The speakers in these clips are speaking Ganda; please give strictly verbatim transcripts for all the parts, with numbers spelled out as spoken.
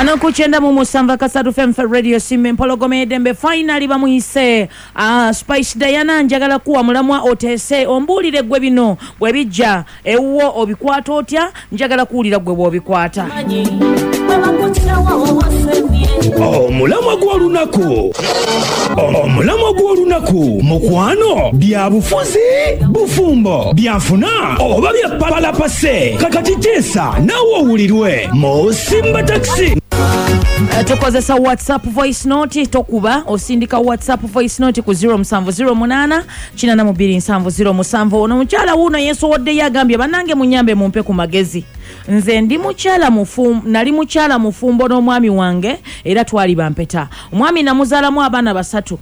Wano ku kyenda mu musanvu akasatu F M Radio Simba Empologoma Edembe. Finally bamuyise uh, Spice Diana. Njagala kuwa mulamwa oteese ombuulire gwe bino bwe bijja ewuwo obikwata otya. Njagala kuwulira gwe bw'obikwata. Omulamwa gw'olunaku, omulamwa gw'olunaku, mukwano, bya bufuzi, bufumbo, byanfuna oba bya palapase. Kakati teesa naawe owulirwe mu Simba Taxi. Eh, tukozesa WhatsApp voice note. Tokuba, osindika WhatsApp voice note ku zero seven zero eight eight two seven zero seven. Ono mukyala wuuno yeesowoddeyo, agambye, "Bannange, munyambe, mumpe ku magezi. Nze ndi mukyala mufumbo, nali mukyala mufumbo n'omwami wange era twali bampeta. Omwami namuzaalamu abaana basatu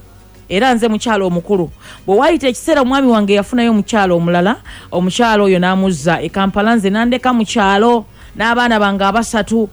era nze mukyala omukulu. Bwe waayita ekiseera, omwami wange yafunayo omukyala omulala. Omukyala oyo n'amuzza e Kampala, nze nandeka mu kyalo n'abaana bange abasatu.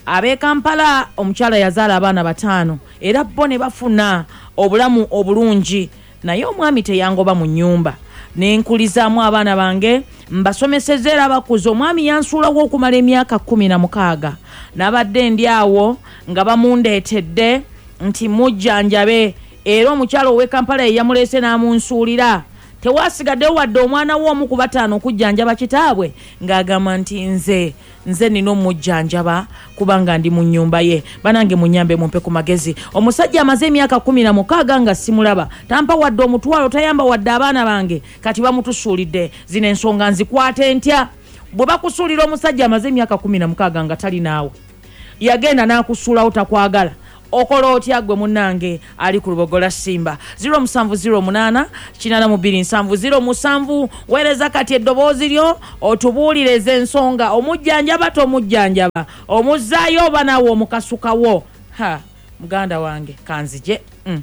Ab'e Kampala omukyala yazaala abaana bataano era bo ne bafuna obulamu obulungi, naye omwami teyangoba mu nnyumba, nenkulizaamu abaana bange, mbasomeseza era bakuze. Omwami yansuulawo okumala emyaka kkumi na mukaaga. Nabadde ndi awo nga bamundeetedde nti mujjanjabe, era omukyala ow'e Kampala ye yamuleese n'amunsuulira. Tewasigaddewo wadde omwana we omu ku bataano okujjanjaba kitaabwe, ng'agamba nti nze nze nina omujjanjaba kubanga ndi mu nnyumba ye. Banange, munyambe, mumpe ku magezi. Omusajja amaze emyaka kumi na mukaaga nga simulaba, tampa wadde omutwalo, tayamba wadde abaana bange. Kati bamutusuulidde. Zino ensonga nzikwate ntya?" Bwe bakusuulira omusajja amaze emyaka kumi na mukaaga nga tali naawe, yagenda n'akusuulawo, takwagala, okola otya gwe munnange ali ku Lubogola Simba? zero seven zero eight eight two seven zero seven. Weereza kati eddoboozi lyo otubuulirize ensonga. Omujjanjaba, tomujjanjaba, omuzzaayo oba naawe omukasukawo? Ha, muganda wange, kanzije mm.